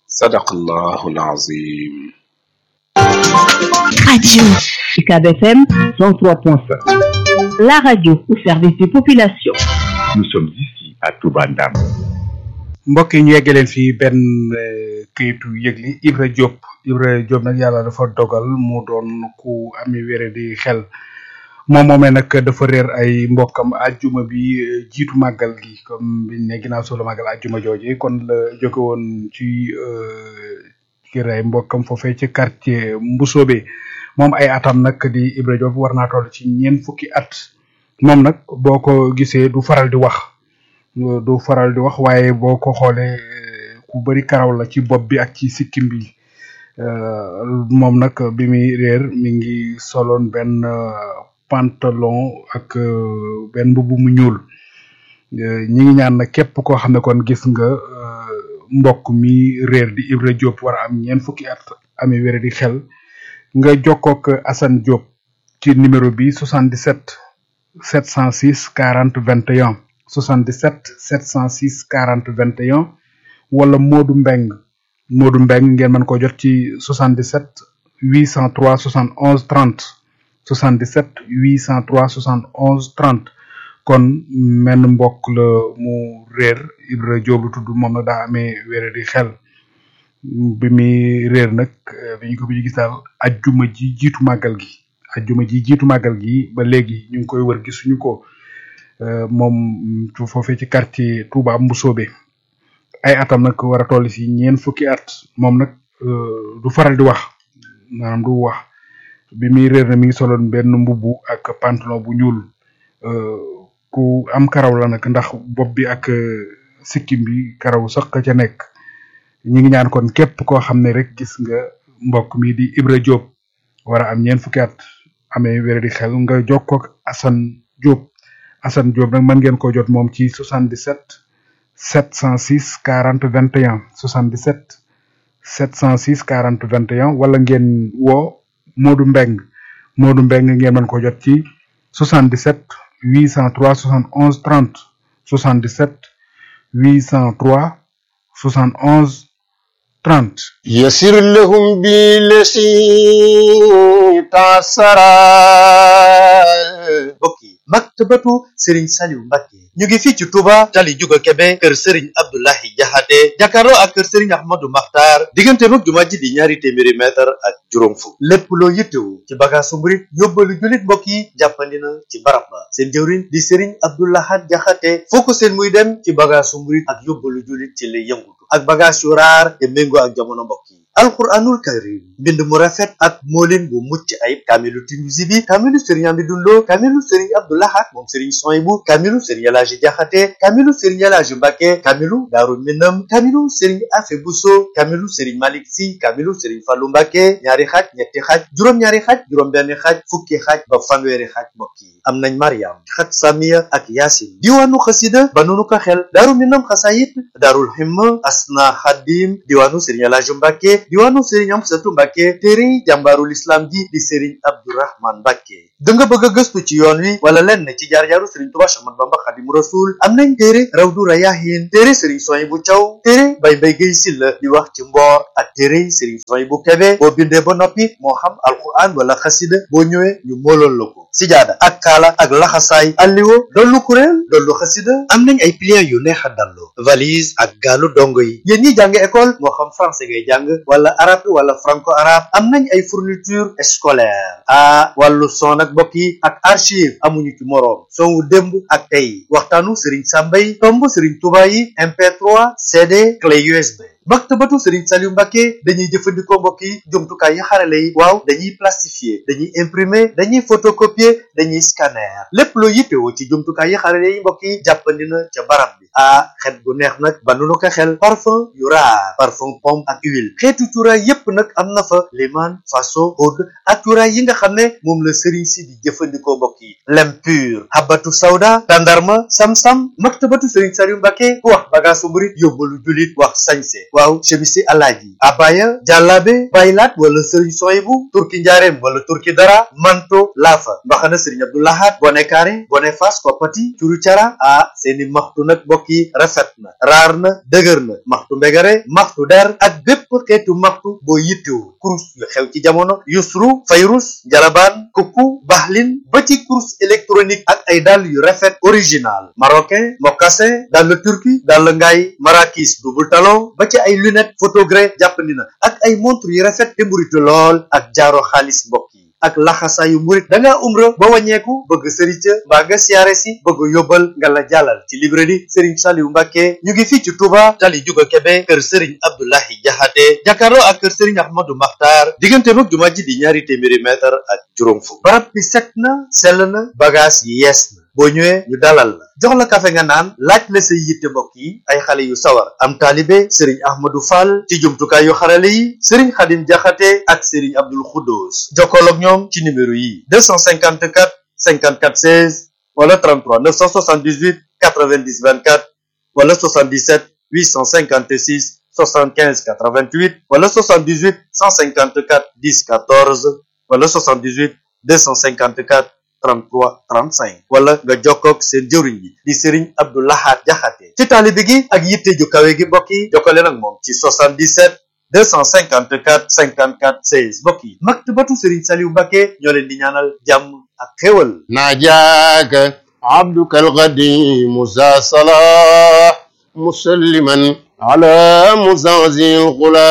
sadaqallahul azim. Radio UCAB FM 103.5. La radio au service des populations. Nous sommes ici à Touba Ndam. mbokk yi ñu yeggaleen fii benn këyitu yëgli Ibra Diop nag yàlla dafa dogal mu doon ku ami wére di xel moomee nag dafa réer ay mbokkam àjjuma bi jiitu màggal gi comme biñ ne ginnaaw solo màggal àjjuma jooje kon la jóge woon ci kër ay mbokkam foofee ci quartier Mbusoobe moom ay atam nag di Ibra Diop war naa toll ci ñeent fukki at moom nag boo ko gisee du faral di wax waaye boo ko xoolee ku bari karaw la ci bopp bi ak ci sikkim bi moom nag bi muy réer mi ngi soloon benn pantalon ak benn mbubb mu ñuul ñi ngi ñaan nag képp koo xam ne kon gis nga mbokk mi réer di Ibra Diop war a am ñeent fukki at amee wére di xel nga jokkook Assane Diop ci numéro bi 77 706 40 21 77 706 40 21 wala Modou Mbeng ngeen mën ko jot ci 77 803 71 30 77 803 71 30 kon menn mbokk la mu réer Ibra Diop lu tudd moom nag daa amee wére di xel bi muy réer nag bi ñu ko bi gis daal ajjuma ji jiitu màggal gi ba léegi ñu ngi koy wër gisuñu ko moom foofee ci quartier Touba Mbusoobe ay atam nag war a toll ci ñeent fukki at moom nag du faral di wax maanaam du wax bi muy réer na mi ngi soloon benn mbubbu ak pantalon bu ñuul ku am karaw la nag ndax bopp bi ak sikkim bi karaw sax ka ca nekk ñi ngi ñaan kon képp koo xam ne rek gis nga mbokk mi di Ibra Diop war a am ñeent fukki at amee wére di xel nga jokkoo ak Assane Diop nag mën ngeen ko jot moom ci 77 706 40 21 77 706 40 21 wala ngeen woo Modou Mbeng ngeen mën ko jot ci 77 803 71 30 77 803 71 30 يسر لهم بالذي تعسرا bokki maktabatu Serigne Saliou Mbacké ñu ngi fii ci Touba tali Juga Kebe kër Serigne Abdoulahi Jaxate jàkkaarloo ak kër Serigne Ahmadou Makhtar diggante mag jumaa ji di ñaari téeméeri mètre ak juróom fukk lépp loo yittewu ci bagaasu murit yóbbalu jullit mbokk yi jàppandi na ci barab ba seen jëwriñ di Serigne Abdoulahat Jaxate foo ko seen muy dem ci bagaasu murit ak yóbbalu jullit ci lay yëngutu ak bagaas yu raar te méngoo ak jamono mbokk yi alquranul karim mbind mu rafet ak moolin bu mucc ayib kaamilu Tinuusi bi kaamilu Serigne Amidou Lo kaamilu Serigne Abdoulahat moom Serigne Soyibu kaamilu Serigne Elaaji Jaxate kaamilu Serigne Elaaji Mbacké kaamilu Daaru Minam kaamilu Serigne Afe Buso kaamilu Serigne Malick Si kaamilu Serigne Fallu Mbacké ñaari xaaj ñetti xaaj juróom-ñaari xaaj juróom-benn xaaj fukki xaaj ba fanweeri xaaj mbokk yi am nañ Mariam xat Samiya ak Yaasin diwaanu xasida ba nunu ko xel Daaru Minam xasayit Daarul Himma Asna Xadim diwaanu Serigne Elaaji Mbacké diwaanu Serigne Amsatu Mbacké téere jàmbaarul islam ji di Serigne Abdourahman Mbacké da nga bëgg a gëstu ci yoon wi wala lenn ci jaar-jaaru Serigne Touba Ahmadu Bamba Xadimu Rasul am nañ téere Rawdu Rayaahin téere Serigne Soyibu Caw téere Bay Mbay Gay Silla di wax ci mboor ak téere Serigne Soyibu Kebe boo bindee ba noppi moo xam alquran wala xasida boo ñëwee ñu moolool la ko sijaada ak kaala ak laxasaay alliwo dollu kuréel dollu xasida am nañ ay pliant yu neex a dallu valise ak gaalu dongo yi yéen ñi jàng école moo xam français ngay jàng wala arabe wala franco arabe am nañ ay fourniture scolaire wàllu son ak mbokk yi ak archive amuñu ci moroom son wu démb ak tey waxtaanu Serigne Sambay tomb Serigne Touba yi MP3 CD clé USB maktabatu Serigne Saliou Mbacké dañuy jëfandikoo mbokk yi jumtukaay yi xarale yi waaw dañuy plastifier dañuy imprimer dañuy photocopier dañuy scanner lépp loo yittewoo ci jumtukaay yi xarale yi mbokk yi jàppandi na ca barab bi xet gu neex nag ba nu ko xel parfum yu raar parfum pomme ak huile xeetu cuuraay yépp nag am na fa liman faso oud ak cuuraay yi nga xam ne moom la Serigne si di jëfandikoo mbokk yi lem pur habatu sawda tandarma sam-sam maktabatu Serigne Saliou Mbacké ku wax bagaasu murit yóbbalu julit wax sañse waaw chemisi alaaji abaya jàllaabe baylaat wala sëriñ soyibu turki njaareem wala turki dara manto laafa mbaxana sëriñ abdoulahat bone kaare bone fas koppati curu cara seeni maxtu nag mbokk yi rafet na raar na dëgër na maxtu mbegare maxtu der ak bépp xeetu maxtu boo yittewu kurus yu xew ci jamono yusru fayrus njalabaan kukku baxlin ba ci kurus électronique ak ay dàll yu rafet original marocain mocassin dàll turki dàll ngaay marakis double talon ba ci ay lunette photogré jàppandi na ak ay montre yu rafet te mburitu lool ak jaaro xaalis mbokk yi ak laxasaayu murit da ngaa umra ba wàññeeku bëgg sërica mbaa nga siyaare si bëgg yóbbal nga la jàllal ci librairie Serigne Saliou Mbacké ñu ngi fii ci Touba tali juga Kébé kër Serigne Abdoulahi Jaxate jàkkaarloo ak kër Serigne Ahmadou Makhtar diggante mag jumaa ji di ñaari téeméeri mètre ak juróom fukk barab bi set na sell na bagage yi yees na boo ñëwee ñu dalal la jox la kafe nga naan laaj la say yitte mbokk yi ay xale yu sawar am taalibe Serigne Ahmadou Fall ci jumtukaay yu xarale yi Serigne Khadim Jaxate ak Serigne Abdoul Khoudous jokkool ak ñoom ci numéro yi 254 54 16 wala 33 978 90 24 wala 77 856 75 88 wala 78 154 10 14 wala 78 254 33 35 wala nga jokkoog seen jëwriñ bi di Serigne Abdou Lahad Jaxate ci taalibe gi ak yitte ju kawe gi mbokk yi jokkale nag moom ci 77 254 54 16 mbokk yi maktabatu Serigne Saliou Mbacké ñoo leen di ñaanal jàmm ak xéwal najaaka abduka alqadim za salah musalliman ala muzazil xula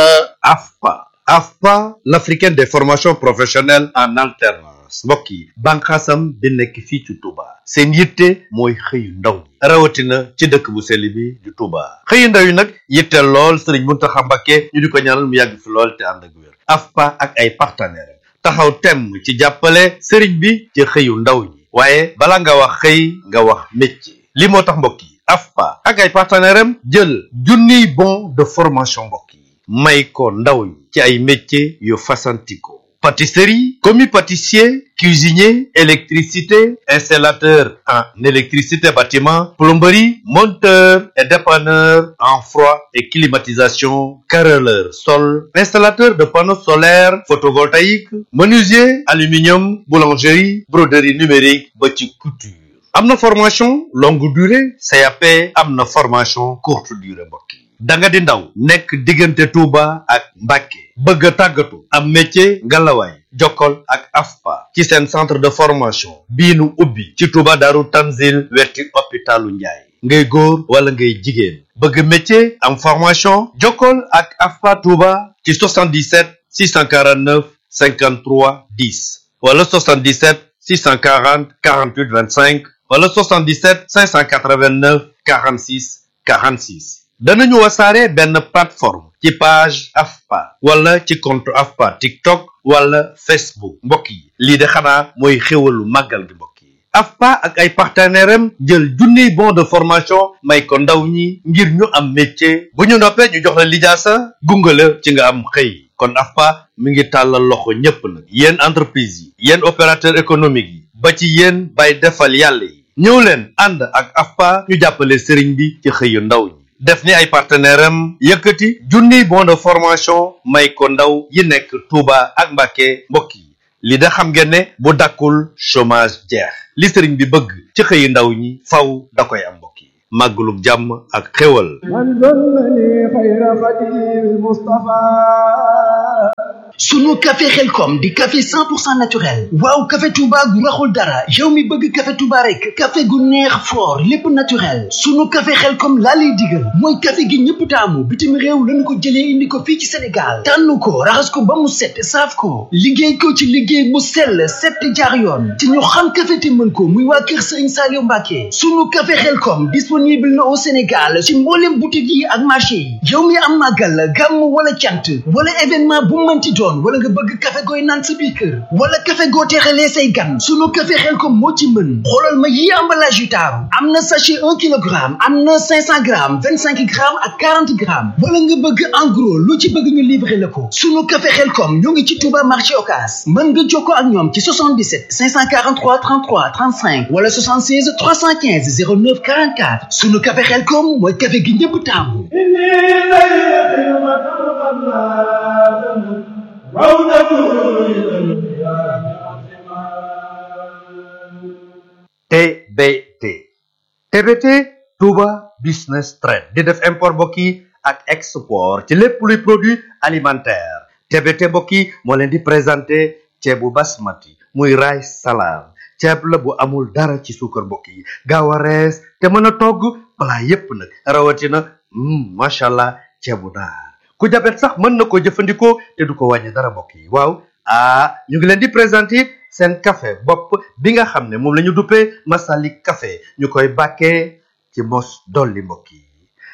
AFPA l'africaine des formations professionnelles en alternance mbokk yi bànqaasam bi nekk fii ci Touba seen yitte mooy xëyu ndaw ñi rawatina ci dëkk bu sell bi di Touba xëyu ndaw yi nag yitte lool Serigne Mountakha Mbacké ñu di ko ñaanal mu yàgg fi lool te ànd ak wér AFPA ak ay partenaires taxaw temm ci jàppale Serigne bi ci xëyu ndaw ñi waaye bala nga wax xëy nga wax métier li moo tax mbokk yi AFPA ak ay partenaires am jël junniy bon de formation mbokk yi may ko ndaw ñi ci ay métiers yu fasantikoo pâtisserie, commis pâtissier, cuisinier, électricité, installateur en électricité bâtiment, plomberie, monteur et dépanneur en froid et climatisation, carreleur sol, installateur de panneaux solaires photovoltaïques, menuisier, aluminium, boulangerie, broderie numérique, ba ci couture. Am na formation longue durée, CAP, am na formation courte durée mbokk yi. da nga di ndaw nekk diggante Touba ak Mbacké bëgg a tàggatu am métier ngalawaay jokkol ak AFPA ci seen centre de formation bii nu ubbi ci Touba Daaru Tanzil wetti hôpitalu Njaay ngay góor wala ngay jigéen bëgg métier am formation jokkol ak AFPA Touba ci 77 649 53 10 wala 77 640 48 25 wala 77 589 46 46 danañu wasaare benn plateforme ci page AFPA wala ci compte AFPA TikTok wala Facebook mbokk yi lii de xanaa mooy xéwalu màggal gi mbokk yi AFPA ak ay partenaires am jël junniy bon de formation may ko ndaw ñi ngir ñu am métier bu ñu noppee ñu jox la lijaasa gunge la ci nga am xëy kon AFPA mi ngi tàllal loxo ñépp nag yéen entreprise yi yéen opérateur économique yi ba ci yéen bay defal yàlla yi ñëw leen ànd ak AFPA ñu jàppale sëriñ bi ci xëyu ndaw ñi def ni ay partenaires am yëkkati junniy bon de formation may ko ndaw yi nekk Touba ak Mbacké mbokk yi li da xam ngeen ne bu dakkul chômage jeex li sëriñ bi bëgg ci xëyu ndaw ñi faw da koy am mbokk yi màggalug jàmm ak xéwal sunu café Xelkom di café 100% naturel waaw café Touba gu raxul dara yow mi bëgg café Touba rek café gu neex fort lépp naturel sunu café Xelkom laa lay digal mooy café gi ñëpp taamu bitim réew lañu ko jëlee indi ko fii ci Sénégal tànn ko raxas ko ba mu set saaf ko liggéey ko ci liggéey bu sell set jaar yoon ci ñu xam café te mën ko muy waa kër Serigne Saliou Mbacké sunu café Xelkom disponible na au Sénégal ci mboolem boutique yi ak marché yi yow mi am màggal gàmm wala cant wala événement bu mënti doon wala nga bëgg café gooy naan sa biir kër wala café goo teexalee say gan sunu café Xelkom moo ci mën xoolal ma yi emballage yu taaru am na sachet 1 kilogramme am na 500 grammes 25 grammes ak 40 grammes wala nga bëgg en gros lu ci bëgg ñu livrer la ko sunu café Xelkom ñoo ngi ci Touba marché Ocass mën nga jokkoo ak ñoom ci 77 543 33 35 wala 76 315 09 44 sunu café Xelkom mooy café gi ñëpp taamu TBT Touba Business Trade di def import mbokk yi ak export ci lépp luy produit alimentaire TBT mbokk yi moo leen di présenté ceebu basmati muy rice salam ceeb la bu amul dara ci suukar mbokk yi gaaw a rees te mën a togg plat yépp nag rawatina macha allah ceebu naar ku jabet sax mën na ko jëfandikoo te du ko wàññi dara mbokk yi waaw ñu ngi leen di présenté seen café bopp bi nga xam ne moom la ñu duppee Masalik café ñu koy bàkkee ci mos dolli mbokk yi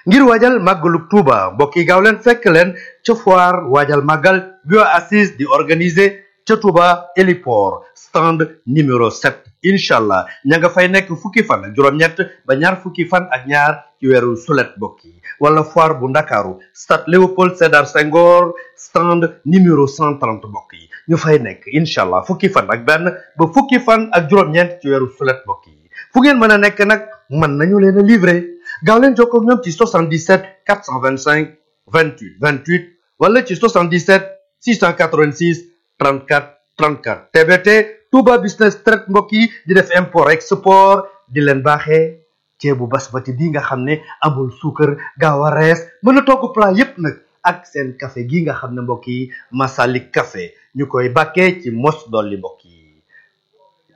ngir waajal màggalu Tuuba mbokk yi gaaw leen fekk leen ca foire waajal màggal bio assise di organiser ca Tuuba héliport stand numéro 7 incha allah ña nga fay nekk fukki fan ak juróom-ñett ba ñaar fukki fan ak ñaar ci weeru sulet mbokk yi wala foire bu ndakaaru stade Léopold Sédar Senghor stand numéro 130 mbokk yi ñu fay nekk incha allah fukki fan ak benn ba fukki fan ak juróom-ñeent ci weeru sulet mbokk yi fu ngeen mën a nekk nag mën nañu leen a livrer gaaw leen jokkoo ak ñoom ci 77 425 28 28 wala ci 77 686 34 34 TBT Touba Business Trade mbokk yi di def import export di leen baaxee ceebu basmati bi nga xam ne amul suukar gaaw a rees mën a togg plat yépp nag ak seen café gi nga xam ne mbokk yi Masalik café ñu koy bàkkee ci mos dolli mbokk yi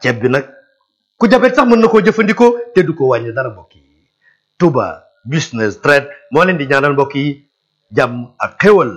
ceeb bi nag ku jabet sax mën na koo jëfandikoo te du ko wàññi dara mbokk yi Touba Business Trade moo leen di ñaanal mbokk yi jàmm ak xéwal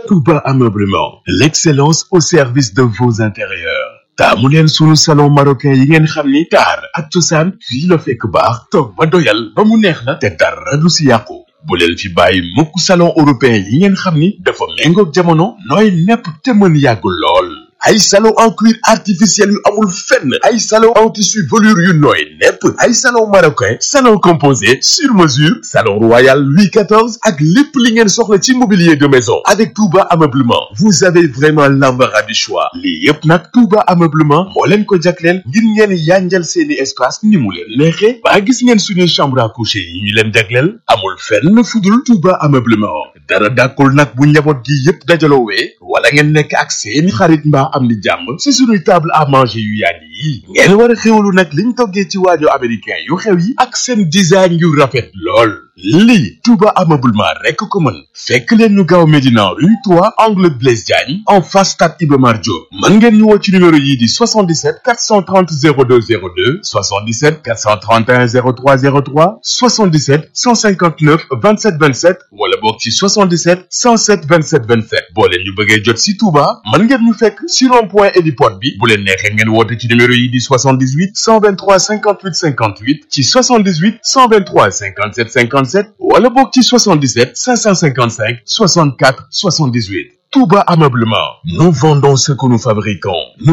Touba Ameublement, l'excellence au service de vos intérieurs. taamu leen sunu salon marocain yi ngeen xam ni taar ak cosaan fii la fekk baax toog ba doyal ba mu neex la te dara du si yàqu bu leen fi bàyyi mukk salon européen yi ngeen xam ni dafa méngoog jamono nooy nepp te mën yàgg lool ay salon en cuir artificiel yu amul fenn ay salon en tissu velours yu nooy nepp ay salon marocain salon composé sur mesure salon royal Louis XIV ak lépp li ngeen soxla ci mobilier de maison avec Touba Ameublement vous avez vraiment l'embarras du choix lii yépp nag Touba Ameublement moo leen ko jagleel ngir ngeen yanjal seeni espace ni mu leen neexee ba gis ngeen suñuy chambre à coucher yi ñu leen jagleel amul fenn fudul Touba Ameublement dara dàkkul nag bu njaboot gi yépp dajaloowee wala ngeen nekk ak seeni xarit mbaa am ni jàmm ci suñuy table à manger yu yàgg yi ngeen war a xewlu nag liñ toggee ci waañu américain yu xew yi ak seen design yu rafet lool lii Touba Ameublement rekk ko mën fekk leen ñu gaaw Médina rue 3 angle Blaise Diagne en face stade Iba Mar Diop mën ngeen ñu woo ci numéro yii di 77 430 02 02 77 431 03 03 77 159 27 27 wala boog ci 77 107 27 27 boo leen ñu bëggee jot si Touba mën ngeen ñu fekk si rond-point héliport bi bu leen neexee ngeen woote ci numéro yi di 78 123 58 58 ci 78 123 57 57 wala boog ci 77 555 64 78 Touba Ameublement nous vendons ce que nous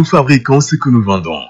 fabriquons ce que nous vendons